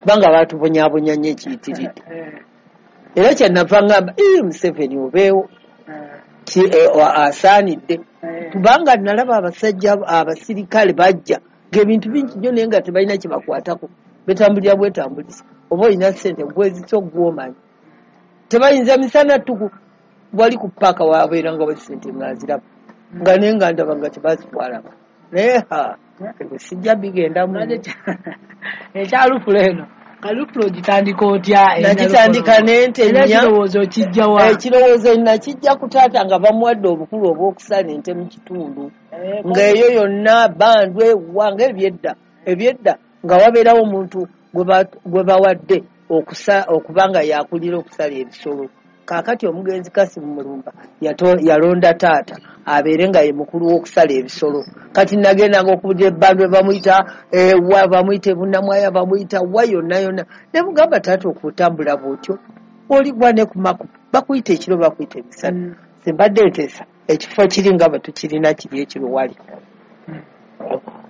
Kubanga baatubonyaabonya nnyo ekiyitiridde. Era kyenava ngamba, "Ii, Museveni obeewo asaanidde," kubanga nalaba abasajja abasirikale bajja ng'ebintu bingi nnyo, naye nga tebalina kye bakwatako, betambulira bwetambulisa. Oba olina ssente gwezisa ogwomanyi, tebayinza misana ttuku wali ku paaka wabeeranga wa ssente nga nziraba nga, naye nga ndaba nga tebazitwalaba. Naye ha, ebyo sijja bigendamu. Ekyalufula eno kalufula ogitandika otya? Nagitandika n'ente Era nnya. Ekirowoozo okijjawa? Ekirowoozo nakijja ku taata nga bamuwadde obukulu obw'okusala ente mu kitundu, ng'eyo yonna bandwe wa nga ebyedda nga wabeerawo omuntu gwe bawadde okuba nga yakulira okusala ebisolo. Kaakati omugenzi Kasimu Mulumba yalonda taata abeere nga ye mukulu w'okusala ebisolo. Kati nagendanga okubulira ebbandwe, bamuyita wa, bamuyita ebunamwaya, bamuyita wa, yonna yonna, ne mugamba, "Taata, okutambula bw'otyo oli gwa ne ku maku bakuyita ekiro, bakuyita emisana." Simbadde nteesa ekifo kiri nga bwe tukirina kiri ekiro wali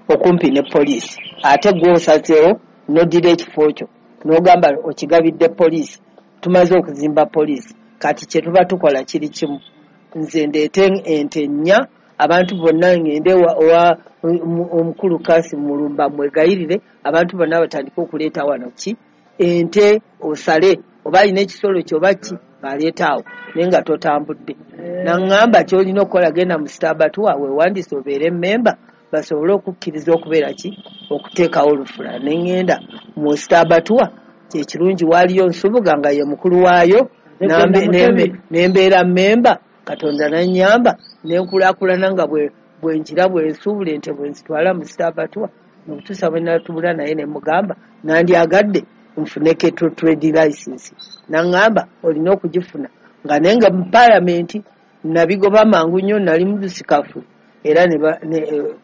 okumpi ne poliisi, ate gwosazeewo n'oddira ekifo kyo n'ogamba okigabidde poliisi. Tumaze okuzimba poliisi, kati kye tuba tukola kiri kimu: nze ndeete ente nnya, abantu bonna ngende owa omukulu Kasi Mulumba mwegayirire, abantu bonna batandike okuleeta wano ki ente, osale oba alina ekisolo kyo oba ki baleeta awo, naye nga totambudde. Naŋŋamba, "Kyolina okukola, genda mu state abattoir weewandiise obeere memba, basobole okukkiriza okubeera ki okuteekawo olufula." Ne ŋŋenda mu state abattoir, kyekirungi waaliyo Nsubuga nga ye mukulu waayo, nembeera memba. Katonda nanyamba nenkulaakulana nga bwe ngira bwe nsuubula ente, bwe nzitwala mu state abattoir, nokutuusa bwe natuula naye ne mugamba, "Nandyagadde nfune cattle trade license." Naŋŋamba, "Olina okugifuna." Nga naye nga mu paalamenti nabigoba mangu nnyo, nali mudusikafu, era ne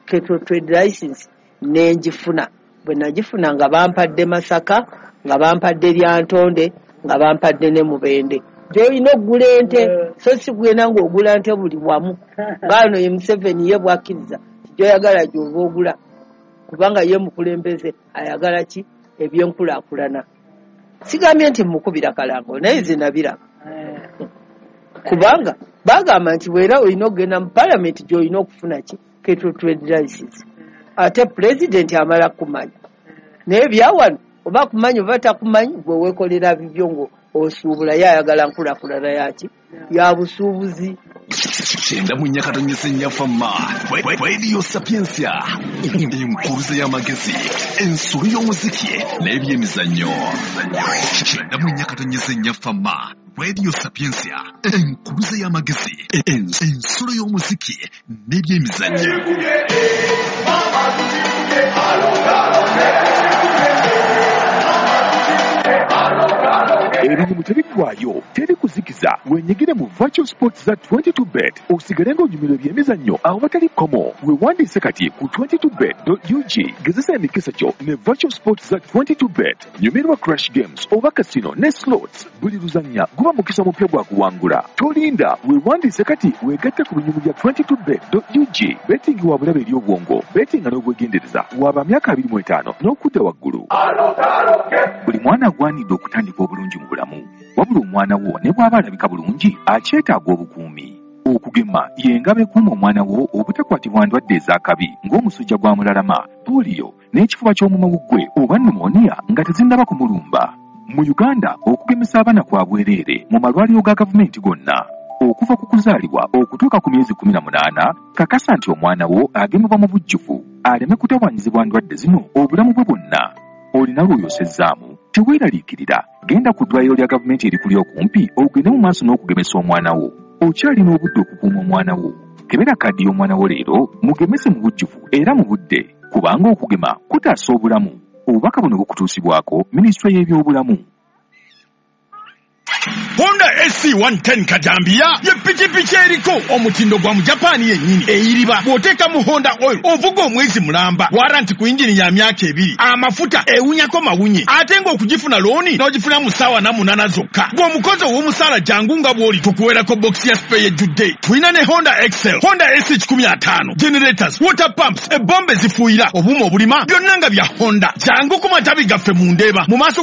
cattle trade license nenjifuna. Bwe nagifuna nga bampadde Masaka, nga bampadde Lyantonde, nga bampadde ne Mubende gyolina okugula ente, so si kugenda ng'ogula nte buli wamu. Ngaano ye Museveni ye bwakkiriza gyoyagala gy'oba ogula, kubanga ye mukulembeze ayagala ki ebyenkulaakulana. Sigambye nti mukubira kalango, naye nze nabiraba, kubanga bagamba nti bwera olina okugenda mu palamenti gy'olina okufuna ki cattle trade license, ate pulezidenti amala kumanya. Naye byawano oba kumanyi oba takumanyi, gwe weekolera bibyo ngo osuubula. Ye ayagala nkulaakulana yaki ya busuubuzi. 94.4 Fama Radio Sapiensia, enkuluze y'amagezi, ensolo y'omuziki n'ebyemizannyo. 94.4 Fama Radio Sapiensia, enkuluze y'amagezi, ensolo y'omuziki n'ebyemizannyo. Ebinyumu tebiggwayo, teri kuzikiza. Wenyigire mu virtual sports za 22 Bet, osigale ng'onyumirwa ebyemizannyo awatali kkomo. Weewandiise kati ku 22bet.ug. Gezesa emikisa gyo ne virtual sports za 22 Bet. Nyumirwa crash games oba casino ne slots. Buli luzannya guba mukisa mupya gwa kuwangula. Tolinda, weewandiise kati weegatte ku binyumu bya 22bet.ug. Betting wa bulabe eri obwongo. Bettinga n'obwegendereza. Waba myaka 25 n'okudda waggulu. Buli mwana agwanidde okutandika obulungi mu bulamu, wabula omwana wo ne bw'aba alabika bulungi akyetaaga obukuumi. Okugema y'engabo ekuuma omwana wo obutakwatibwa ndwadde ez'akabi ng'omusujja gwa mulalama, pooliyo n'ekifuba ky'omumawuggwe oba pneumonia nga tezinnaba kumulumba. Mu Uganda okugemesa abaana kwa bwereere mu malwaliro ga gavumenti gonna okuva ku kuzaalibwa okutuuka ku myezi 18. Kakasa nti omwana wo agemebwa mu bujjuvu aleme kutawaanyizibwa ndwadde zino obulamu bwe bwonna. Olina lw'oyosezzaamu? Teweeraliikirira, genda ku ddwaliro lya gavumenti erikuli okumpi ogende mu maaso n'okugemesa omwana wo. Okyalina obudde okukuuma omwana wo. Kebera kaadi y'omwana wo leero, mugemese mu bujjuvu era mu budde, kubanga okugema kutaasa obulamu. Obubaka buno bukutuusibwako minisitule y'ebyobulamu. Honda SC 110 Kajambiya ye pikipiki eriko omutindo gwa Mujapaani yennyini, eyiriba bw'oteeka mu Honda oil ovuga omwezi mulamba, warranty ku yingini ya myaka 2, amafuta ewunyako mawunye, ate ng'okugifuna looni n'ogifuna mu ssaawa 8 zokka. Gw'omukozi ow'omusaala jangu nga bw'oli tukuweerako bokisi ya spare ejjudde. Tulina ne Honda Excel, Honda SC 150, generators, water pumps, ebombe zifuuyira, obuuma obulima, byonna nga bya Honda. Jangu ku matabi gaffe mu Ndeeba mu maaso.